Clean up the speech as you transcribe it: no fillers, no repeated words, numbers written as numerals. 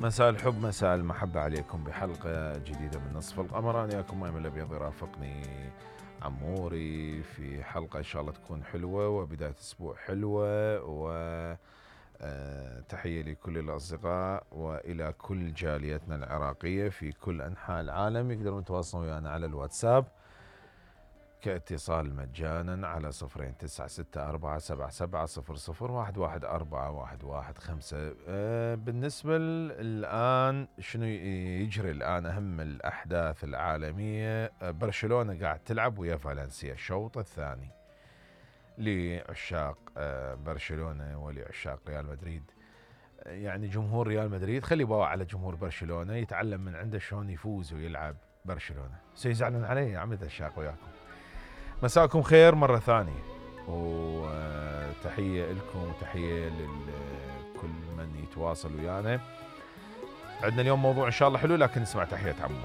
مساء الحب مساء المحبة عليكم بحلقة جديدة من نصف القمر. أنا وياكم مايم الأبيض يرافقني عموري في حلقة إن شاء الله تكون حلوة وبداية أسبوع حلوة. تحية لكل الأصدقاء وإلى كل جاليتنا العراقية في كل أنحاء العالم. يقدرون يتواصلون ويانا على الواتساب كاتصال مجانا على 02-964-7700-114-115. بالنسبة الآن شنو يجري الآن أهم الأحداث العالمية؟ برشلونة قاعد تلعب ويا فالنسيا الشوط الثاني. لعشاق برشلونة ولعشاق ريال مدريد، يعني جمهور ريال مدريد خلي باوع على جمهور برشلونة يتعلم من عنده شلون يفوز ويلعب برشلونة. سيزعلون علي يا عمي عشاق وياكم. مساكم خير مرة ثانية وتحية لكم وتحية لكل من يتواصل ويانا. عندنا اليوم موضوع إن شاء الله حلو، لكن نسمع تحية عمو.